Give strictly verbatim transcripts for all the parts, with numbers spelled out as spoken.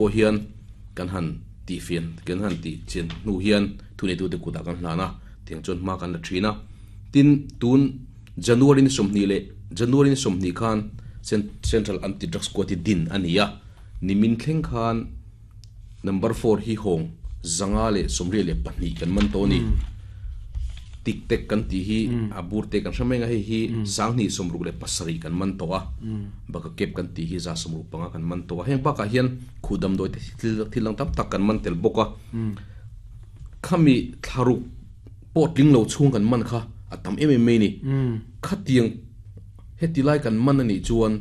Pawh hian kan han tih fian kan han tih chian hnu hian thuneitute kutah kan hlan a, tiang chuan hma kan la thin a. Tin, tun January ni sawmhnih leh January ni sawmhnih khan Central Anti Drug Squad hi din a ni a, nimin thleng khan number four hi hawng zanga leh sawmriat leh pahnih kan man tawh a ni. Tik tek kan tih hi a bur te kan hre mai ang a, hei hi sanghnih sawmruk leh pasarih kan man tawh a, baka kep kan tih hi za sawmruk panga kan man tawh a, heng bakah hian khuh damdawi te thil thil dang tam tak kan man tel bawk a, khami thlaruk pawh tling lo chhung kan man kha a tam em em mai a ni. Khatiang heti lai kan man a nih chuan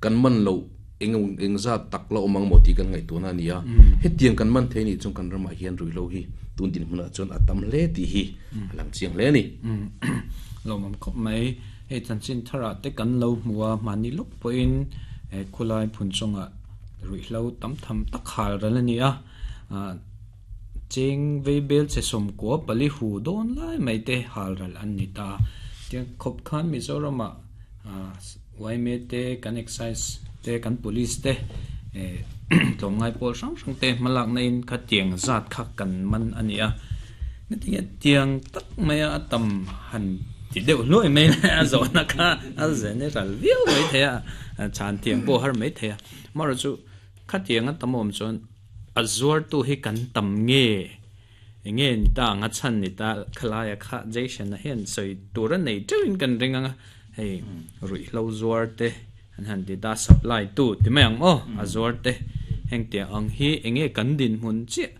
kan man loh eng eng zat tak la awm ang maw tih kan ngaihtuahna a ni a, hetiang kan man thei a nih chuan kan ramah hian ruihhlo hi tun dinhmunah chuan a tam hle tih hi a lang chiang hle a ni. Lawmawm khawp mai. Hei chanchin tharah te kan lo hmu a, mahni lawk pawhin khulai phun chungah ruihhlo tam tham tak hal ral a ni a, cheng vei bel che sawmkua pali hu dawn lai mai te hal ral an ni ta. Tiang khawp khan Mizoramah Y M A te, kan excise te, kan police te, tlawmngai pawl hrang hrang te hmalakna in kha tiang zat kha kan man a ni a. Ngatinge tiang tak maia a tam han ti deuh hluai mai le a zawhna kha a general viau mai thei a, chhan tiang pawh har mai thei a. Amaherawhchu chu khatiang a tam awm chuan a zuartu hi kan tam nge enge ni ta ang a chhan ni ta khalaia kha Jason a hian sawi tur a nei teuhin kan ring ang a, hei ruihhlo zuar te an han ti ta supply tu ti mai ang aw a zuar te heng tiang ang hi enge kan dinhmun chiah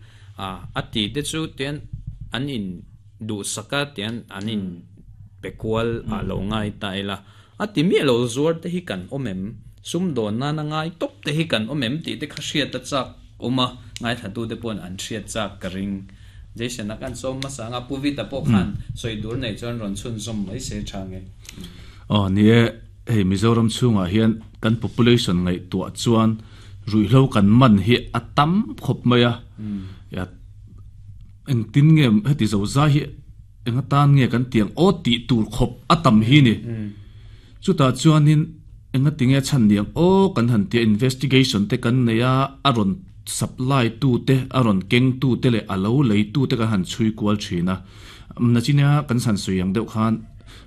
a a ti te chu tian an in duhsak a tian an in pe kual ah lo ngai ta ila a ti miah lo zuar te hi kan awm em sum dawn nana ngai tawp te hi kan awm em tih te kha hriat a chak awm a, ngaithla tu te pawhin an hriat chak ka ring. Jason a kan sawm hmasa anga Pu Vita pawh khan sawi tur nei chuan rawn chhunzawm mai se tha nge. Aw ni e, hei Mizoram chhungah hian kan population ngaihtuah chuan ruihhlo kan man hi a tam khawp mai a, ya engtin nge heti zo zai hi eng atan nge kan tiang aw tih tur khawp a tam hi ni. Chutah chuanin enga tinge chhan niang aw kan han tia investigation te kan nei a, a rawn supply tu te a rawn keng tu te leh a lo lei tu te kan han chhui kual thin a. Nachina kan san sawi ang deuh khan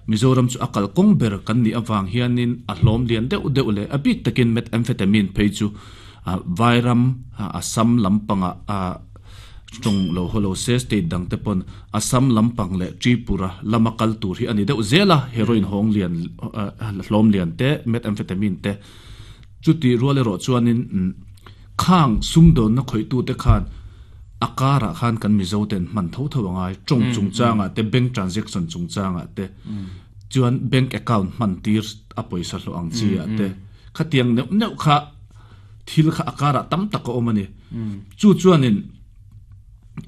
Mizoram chu a kalkawng ber kan nih avang hianin a hlawm lian deuh deuh leh a bik takin methamphetamine phei chu Vairam Assam lampangah a tawng lo haw lo se state dang te pawn Assam lampang leh Tripura lama kal tur hi a ni deuh zel a, heroin hawng lian hlawm lian te methamphetamine te chuti rual erawh chuanin khang sumdawnna khawihtu te khan a karah khan kan Mizo ten hman tho tho angai tawng chungchangah te bank transaction chungchangah te chuan bank account hman tir a pawisa hlawh ang chi ah te khatiang neuh neuh kha thil kha a karah tam tak a awm a ni. Chu chuanin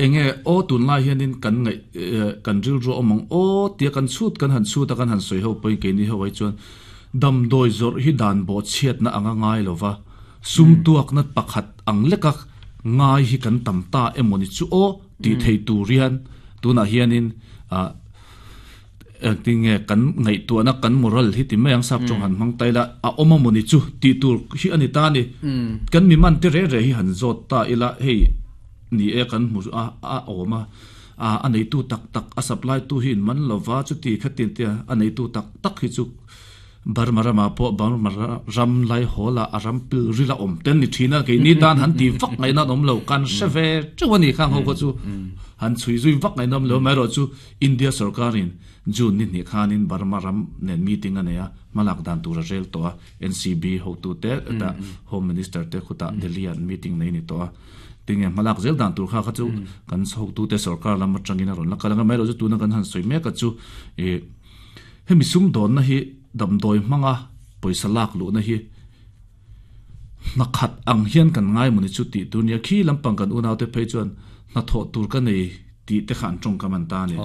enge aw tunlai hianin kan ngaih kan rilru a awm ang aw tia kan chhut kan han chhut a kan han sawi ho pawhin keini ho ai chuan damdawi zawrh hi dan bawh chhiatna anga ngai lova sum tuakna pakhat ang leka ngai hi kan tam ta emaw ni chu aw tih thei tur hian tunah hianin ah engtinge kan ngaihtuahna kan moral hi ti mai ang sap tawng han hmang ta ila a awm emaw ni chu tih tur hi a ni ta a ni. Kan mi man te re re hi han zawt ta ila hei ni e kan hmu a a awm a, a neitu tak tak a supply tu hi in man lova chuti khatin te a neitu tak tak hi chu Burma ramah pawh Burma ram lai hawlah a ram pil ril a awm ten ni thin a, keini tan han ti vak ngaihna an awm lo, kan hre ve teuh a ni khang ho kha chu han chhui zui vak ngaihna awm lo, amaherawhchu India sorkarin June ni hnih khanin Burma ram nen meeting a nei a, hmalak dan tur a rel tawh a, N C B hotute ta Home Minister te khutah Delhi ah meeting nei ni tawh a, tinge hmalak zel dan tur kha kha chu kan hotute sorkar lam atangin a rawn la kal ang a, amaherawhchu tuna kan han sawi mek a chu ih hemi sumdawnna hi damdawi hmanga pawisa lak luhna hi hnakhat ang hian kan ngai maw ni chu tih tur nia, khi lampang kan unaute phei chuan hnathawh tur ka nei tih te kha an tawngkam an ta a ni.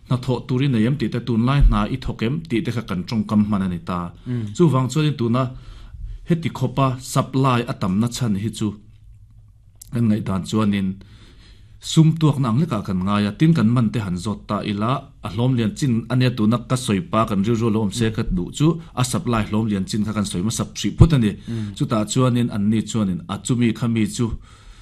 Hnathawh tur i nei em tih te tunlai hna i thawk em tih te kha kan tawngkam hman a ni ta. Chuvang chuanin tuna heti khawpa supply a tamna chhan hi chu kan ngaihdan chuanin sum tuakna ang lekah kan ngai a, tin kan man te han zawt ta ila a hlawm lian chin a nia tuna ka sawi pa kan rilru lo awm se ka duh chu a supply hlawm lian chin kha kan sawi hmasa hrih phut a ni. Chutah chuanin an ni chuanin a chumi kha mi chu